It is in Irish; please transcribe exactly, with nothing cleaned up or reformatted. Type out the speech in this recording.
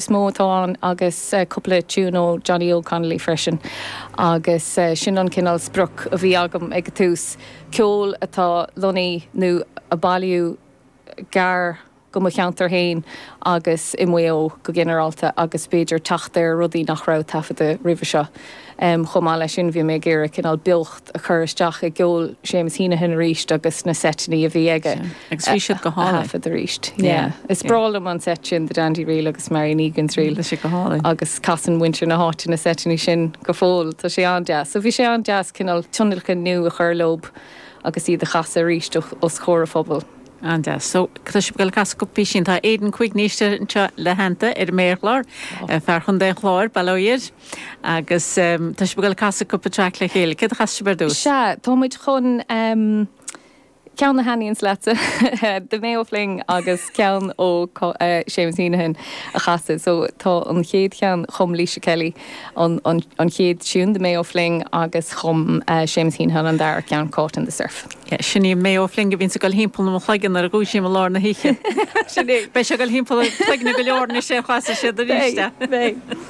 is mó atá ann agus cúpla tiún ó Johnny Óg Connolly freisin agus sin an cineál sprioc a bhí agam ag an tús, ceol atá lonnaithe nó a bailíodh gar go mo cheantar féin agus i Maigh Eo go ginearálta agus b'fhéidir teacht ar rudaí nach raibh taifeadta roimhe seo. Chomh maith leis sin bhí mé ag iarraidh cineál beocht a chur isteach i gceol Séamus Heneghan arís agus na seiteanna a bhí aige Agus bhí siad go hálainn. a thaifead arís. Yeah. Is breá liom an seit sin, The Dandy Reel agus Marion Egan's Reel. Tá sé go hálainn. Agus casann muintir na háite na seiteanna sin go fóill. Tá sé an-deas. So bhí sé an-deas cineál tionlacan nua a chur leob agus iad a chasadh arís os comhair an phobail. An-deas. So, tá sibh ag dul ag casadh cúpla písín. Tá Aidan Quigney istigh anseo le theannta ar an méarchlár, fear Chontae an Chláir, bail ó Dhia air. Agus tá sibh ag dul ag casadh cúpla traic le chéile. Céard a chasfaidh sibh ar dtús? Sea, tá muid chun ceann a thaitníonns leatsa, The Mayo Fling agus ceann ó Séamus Heneghan a chasadh. So tá an chéad cheann, chum Laoise Kelly an an chéad tiún, The Mayo Fling, agus chum Séamus Heneghan an dara ceann, Caught in the Surf. Sin í an Mayo Fling a bhíonns ag dul thimpeall mo chloigeann nuair a dhúisím i lár na hoíche. Sin é. Beidh sé ag dul thimpeall cloigne go leor anois ar chasfaidh siad arís é. Beidh, beidh.